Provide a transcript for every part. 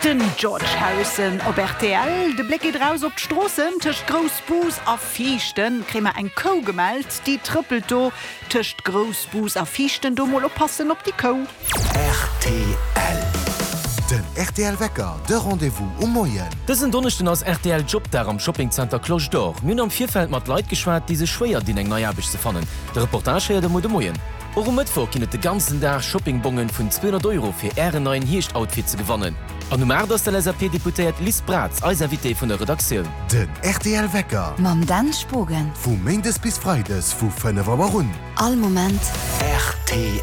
Den George Harrison op rtl. De Bléck geet eraus op d'Stroossen. Tëscht Groussbus a Viichten kréie mer eng Kou gemellt. Déi trëppelt do tëscht Groussbus a Viichten. Do mol oppassen op déi Kou. Rtl. Den rtl Wecker, de Rendez-vous um Moien. Dësen Donneschden ass rtl Jobdag am Shoppingzenter Cloche d'Or. Mir hunn am Virfeld mat Leit geschwat, déi sech schwéier dinn eng nei Aarbecht ze fannen. De Reportage héiert der muer de Moien. Och um Mëttwoch ginn et de ganzen Dag Shoppingbongen vun 200 Euro fir Ären neien Hierscht-Outfit ze gewannen. An um 8 ass d'LSAP-Deputéiert Liz Braz eis Invitée vun der Redaktioun. Den rtl Wecker. Mam Dan Spogen. Vu Méindes bis Freides vu 5 Auer un. All Moment. Rtl.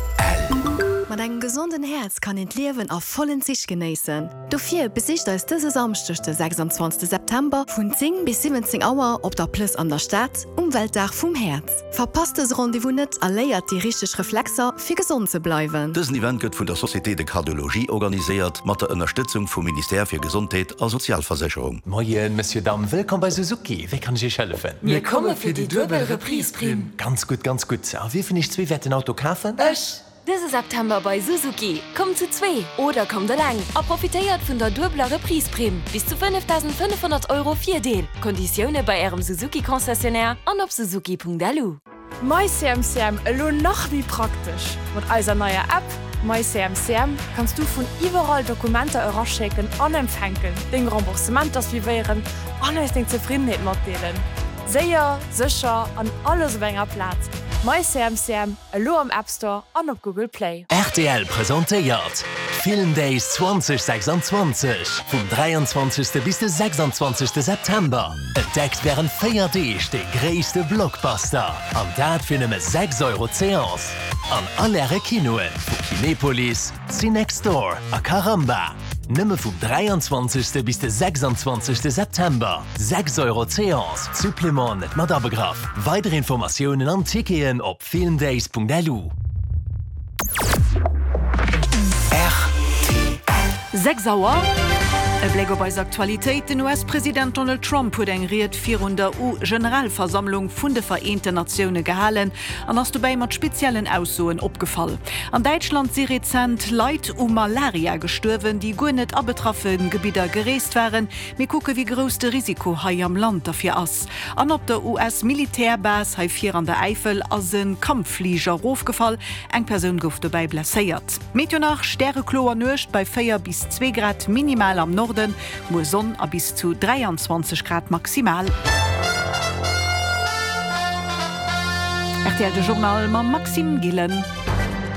Mat engem gesonden Häerz kann een d'Liewen a vollen Zich genéissen. Dofir besicht eis dëse Samschdeg de 26 September vun 10 bis 17 Auer op der Plëss an der Stad um Weltdag vum Häerz. Verpasst dëse Rendez-vous net a léiert déi richteg Reflexer fir gesond ze bleiwen. Dësen Event gëtt vun der Société de Cardiologie organiséiert, mat der Ënnerstëtzung vum Ministère fir Gesondheet a Sozialversécherung. Moien Monsieur, Dame, wëllkomm bei Suzuki, wéi kann ech Iech hëllefen? Mir komme fir déi duebel Reprise-Primm. Ganz gutt, ganz gutt. A wie vun Iech zwee wäert den Auto kafen? Ech! Dëse September bei Suzuki, Kommt zu zwee oder kommt eleng a profitéiert vun der duebeler Reprise-Primm, bis zu 5.500 Euro Virdeel. Konditioune bei Ärem Suzuki-Concessionnaire an op suzuki.lu. MyCMCM elo nach méi praktesch! Mat eiser neier App MyCMCM kanns du vun iwwerall Dokumenter eraschécken an empfänken, deng Remboursementer suivéieren an eis deng Zefriddenheet matdeelen. Séier, sécher an alles op enger Plaz. MyCMCM, elo am App Store an op Google Play. Rtl presentéiert d'Film Days 2026 vum 23. bis de 26. September. Entdeckt wärend 4 Deeg de gréisste Blockbuster an dat fir nëmme 6 Euro d'Seance an all Äre Kinoen vu Kinepolis, Cinextdoor a Caramba. Nëmme vum 23. bis de 26. September, 6 Euro d'Seance, Supplément net mat abegraff. Weider Informatiounen an Ticketen op Filmdays.lu. Rtl. 6 Auer, E Bléck op eis Aktualitéit, Den US-President Donald Trump huet eng Ried virun der U-Generalversammlung vun de Vereenten Natioune gehalen an ass dobäi mat speziellen Aussoen opgefall. An Däitschland si rezent Leit u Malaria gestuerwen, déi guer net a betraffe Gebidder gereest waren. Mir kucke wéi grouss de Risiko hei am Land derfir ass. An op der US-Militärbase hei vir an der Äifel ass e Kampffliger erofgefall. Eng Persoun gouf dobäi blesséiert. Meteo nach, Stärekloer Nuecht bei 4 bis 2 Grad minimal am Norden, muer Sonn a bis zu 23 Grad maximal. Rtl De Journal mam Maxime Gillen.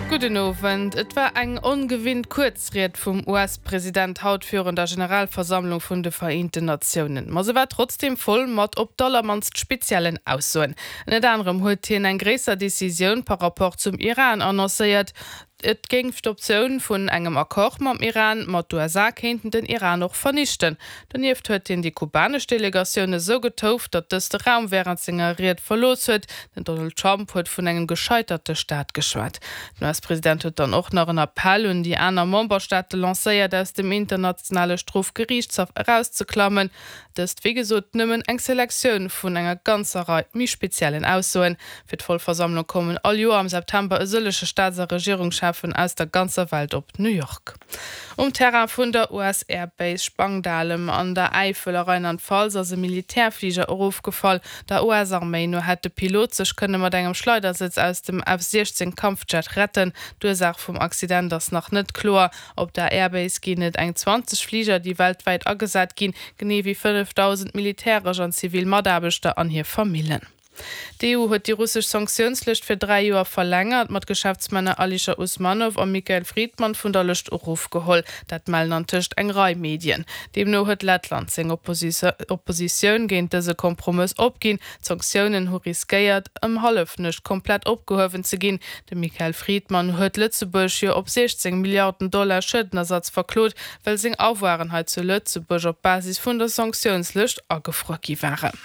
Gudden Owend. Et war eng ongewinnt kuerz Ried vum US-President haut virun der Generalversammlung vun de Vereenten Natiounen. Ma se war trotzdeem voll mat op d'allermannst speziellen Aussoen. Ënnert anerem huet hien eng gréisser Decisioun par rapport zum Iran annoncéiert. Et géif d'Optioun vun engem Accord mam Iran, ma d'USA kéinten den Iran och vernichten. Donieft huet hien déi kubanesch Delegatioun esou getouft, datt dës de Raum wärend senger Ried verlooss huet. Den Donald Trump huet vun engem gescheiterte Staat geschwat. Den US-President huet dann och nach en Appell un déi aner Memberstaate lancéiert, aus dem internationale Strofgeriichtshaff erauszeklammen. Dëst wéi gesot nëmmen eng Selektioun vun enger ganzer Rei méi speziellen Aussoen. Fir d'Vollversammlung kommen all Joer am September e sëllege Staats a Regierungscheffen aus der ganzer Welt op New York. Um Terrain vun der US Air Base Spangdahlem an der Äifel a Rheinland-Pfalz ass e Militärfliger erofgefall. Der US-Arméi no hätt de Pilot sech kënne mat engem Schleidersëtz aus dem F-16 Kampfjet retten. D'Ursaach vum Accident ass nach net kloer. Op der Airbase ginn et eng 20 Fliger, déi weltwäit agesat ginn, genee wéi 5.000 militäresch an zivil Mataarbechter an hir Famillen. D'EU huet déi russesch Sanktiounslëscht fir 3 Joer verlängert, ma d'Geschäftsmänner Alischer Usmanow a Mikhail Fridman vun der Lëscht erofgeholl. Dat mellen antëscht eng Rei Medien. Deemno huet Lettland seng Oppositioun géint dëse Kompromëss opginn. D'Sanktiounen hu riskéiert, ëm Hallefnuecht komplett opgehuewen ze ginn. De Mikhail Fridman huet Lëtzebuerg jo op 16 Milliarden Dollar Schuedenersatz verklot, well seng Avoiren hei zu Lëtzebuerg op Basis vun der Sanktiounslëscht agefruer gi waren.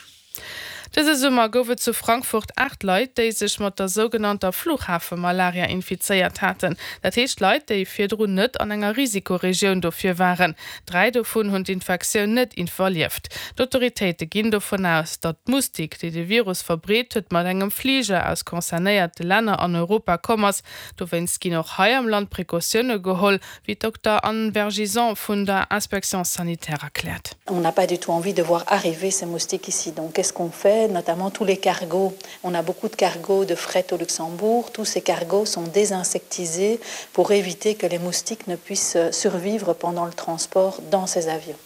Dëse Summer gouf et zu Frankfurt 8 Leit, déi sech mat der sougenannter Fluchhafemalaria infizéiert haten. Dat heescht Leit, déi virdrun net an enger Risikoregioun dofir waren. 3 dovun hunn d'Infektioun net iwwerlieft. D'Autoritéite ginn dovun aus, datt d'Mustik, déi de Virus verbreet huet, mat engem Fliger aus concernéierte Länner an Europa komm ass. Dowéinst ginn och hei am Land Precautioune geholl, wéi d'Dokter Anne Vergison vun der Inspection sanitaire erkläert. On n'a pas du tout envie de voir arriver ces moustiques ici. Donc qu'est-ce qu'on fait? Notamment tous les cargos. On a beaucoup de cargos de fret au Luxembourg. Tous ces cargos sont désinsectisés pour éviter que les moustiques ne puissent survivre pendant le transport dans ces avions.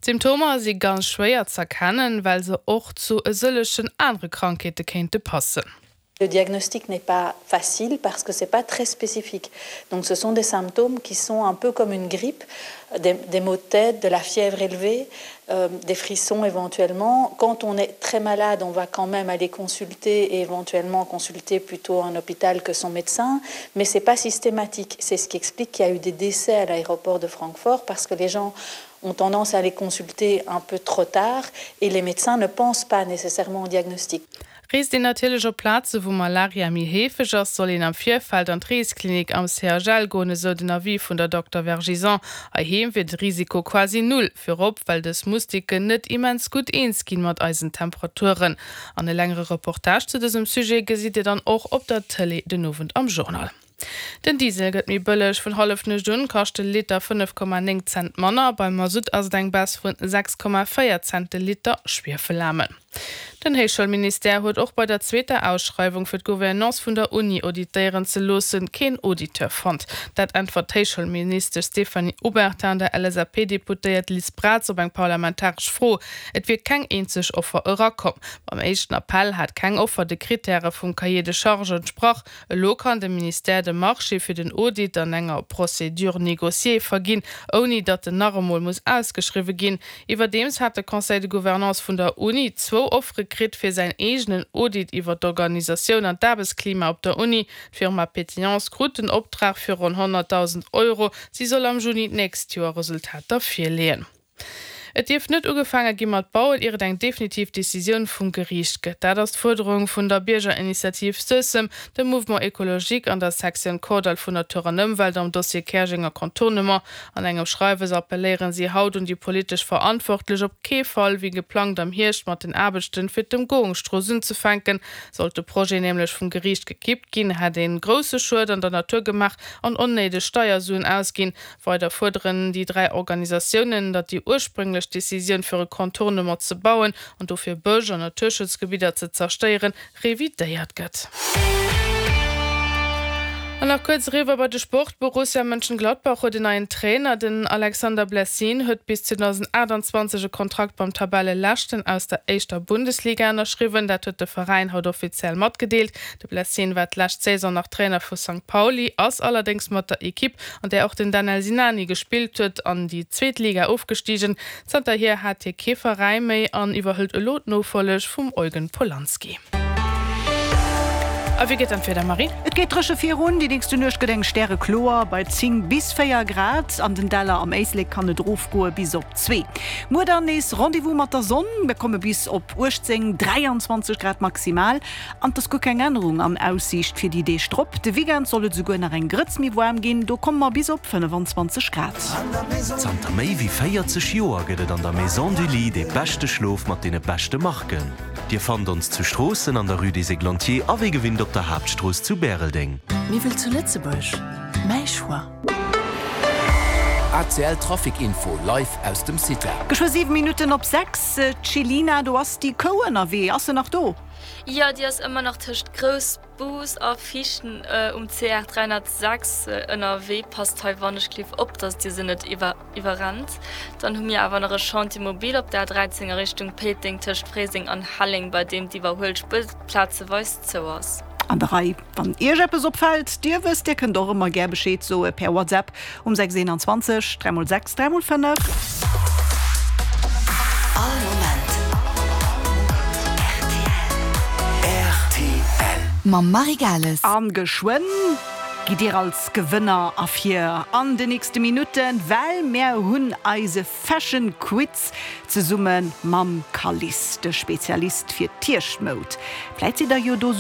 D'Symptomer si ganz schwéier z'erkennen, well se och zu e sëllegen anere Krankheete kéinte passen. Le diagnostic n'est pas facile parce que c'est pas très spécifique. Donc ce sont des symptômes qui sont un peu comme une grippe, des, des maux de tête, de la fièvre élevée, euh, des frissons éventuellement. Quand on est très malade, on va quand même aller consulter et éventuellement consulter plutôt un hôpital que son médecin, mais c'est pas systématique. C'est ce qui explique qu'il y a eu des décès à l'aéroport de Francfort parce que les gens ont tendance à aller consulter un peu trop tard et les médecins ne pensent pas nécessairement au diagnostic. Reest een natierlech op Plaze wou Malaria méi heefeg ass, soll een am Virfeld an d'Reesklinik am CHL goen, esou den Avis vun der Dokter Vergison. Heiheem wier de Risiko quasi null, virop well dës Mustiken net immens gutt eens ginn mat eisen Temperaturen. An e längere Reportage zu dësem Sujet gesitt Dir dann och op der Tëlee den Owend am Journal. Den Diesel gëtt méi bëlleg, vun Hallefnuecht un kascht de Liter 5,9 Cent manner. Beim Masutt ass et eng Baisse vun 6,4 Cent de Liter Schwiefelaarmen. Den Héichschoulministère huet och bei der zweeter Ausschreiwung fir d'Gouvernance vun der Uni auditéieren ze loossen, keen Auditeur fonnt. Dat äntwert d'Héichschoulministesch Stéphanie Obertin der LSAP-Deputéiert Liz Braz op eng parlamentaresch Fro. Et wier keng eenzeg Offer erakomm. Beim éischten Appell hat keng Offer de Krittäre vum Cahier de charges entsprach. Elo kann de Ministère de Marché fir den Audit an enger Procédure négociée verginn, ouni datt en nach emol muss ausgeschriwwe ginn. Iwwerdeems hat de Conseil de Gouvernance vun der Uni zwou Offere kritt fir säin eegenen Audit iwwer d'Organisatioun an d'Aarbechtsklima op der Uni. D'Firma Pétillance krut den Optrag fir ronn 100.000 Euro. Si soll am Juni d'nächst Joer Resultater virleeën. Et dierf net ugefaange gi mat bauen, ier et eng definitiv Decisioun vum Geriicht gëtt. Dat ass d'Fuerderung vun der Biergerinitiativ Suessem, dem Mouvement Ecologique an der Sektioun Kordall vun Natur an Ëmwelt am Dossier Käerjenger Contournement. An engem Schreiwes appelléieren si haut un déi politesch Verantwortlech, op kee Fall wéi geplangt am Hierscht mat den Aarbechten fir d'Ëmgoungsstrooss unzefänken. Sollt de Projet nämlech vum Geriicht gekippt ginn, hätt een grousse Schued an der Natur gemaach an onnéideg Steiersuen ausginn. Weider fuerderen déi 3 Organisatiounen, datt déi ursprénglech Decisioun fir e Contournement ze bauen an dofir Bësch an Naturschutzgebidder ze zerstéieren, revidéiert gëtt. An nach kuerz eriwwer bei de Sport, Borussia Mönchengladbach huet en neien Trainer. Den Alexander Blessin huet bis 2028 e Kontrakt beim Tabelleleschten aus der éischter Bundesliga ënnerschriwwen. Dat huet de Veräin haut offiziell matgedeelt. De Blessin war d'lescht Saison nach Trainer vu Sankt Pauli, ass allerdéngs mat der Ekipp, an där och den Danel Sinani gespillt huet, an déi zweet Liga ofgestigen. Zanterhier hat hie kee Veräi méi an iwwerhëlt elo d'Nofolleg vum Eugen Polanski. A wéi geet dann d'Wieder, Marie? Et geet dréche virun, déi nächste Nuecht gëtt eng stärekloer bei 10 bis 4 Grad. An den Däller am Éislek kann et erofgoe bis op 2. Muer dann nees Rendez-vous mat der Sonn, mir komme bis op 18, 23 Grad maximal. An 't ass guer keng Ännerung an Aussiicht fir déi Deeg drop. De Weekend soll et esouguer nach eng Grëtz méi waarm ginn, do komme mer bis op 25 Grad. Zanter méi wéi 40 Joer gëtt et an der Maison du Lit dee beschte Schlof mat deene beschte Marken. Dir fannt ons zu Stroossen an der Rue des Églantiers a wéi gewinnt op der Haaptstrooss zu Bäreldeng. Miwwel zu Lëtzebuerg, mäi Choix. ACL Trafic Info live aus dem CITA. Geschwë 7 Minutten op 6, D'Chelina, do ass déi Kou ënnerwee. Ass se nach do? Jo, déi ass ëmmer nach tëscht Groussbus a Vichten um CR 306 ënnerwee. Passt hei wannechgelift op, dass Dir se net iwwerrennt. Dann hu mir awer nach e Chantier mobile op der A13 a Richtung Péiteng tëscht Fréiseng an Helleng, bei deem d'Iwwerhuelspuer plazeweis zou ass. An der Rei. Wann Iech eppes opfält, Dir wësst, Dir kënnt och ëmmer gär Bescheed soe per WhatsApp um 6 21 3 x 6 3 x 5. All Moment rtl. Mam Marie Gales. An geschwënn. Gitt Dir als Gewënner ervir an de nächste Minutten, well mär hunn eise Fashion Quiz zesumme mam Calice, de Spezialist fir d'Hierschtmoud. Vläit sidd der jo do.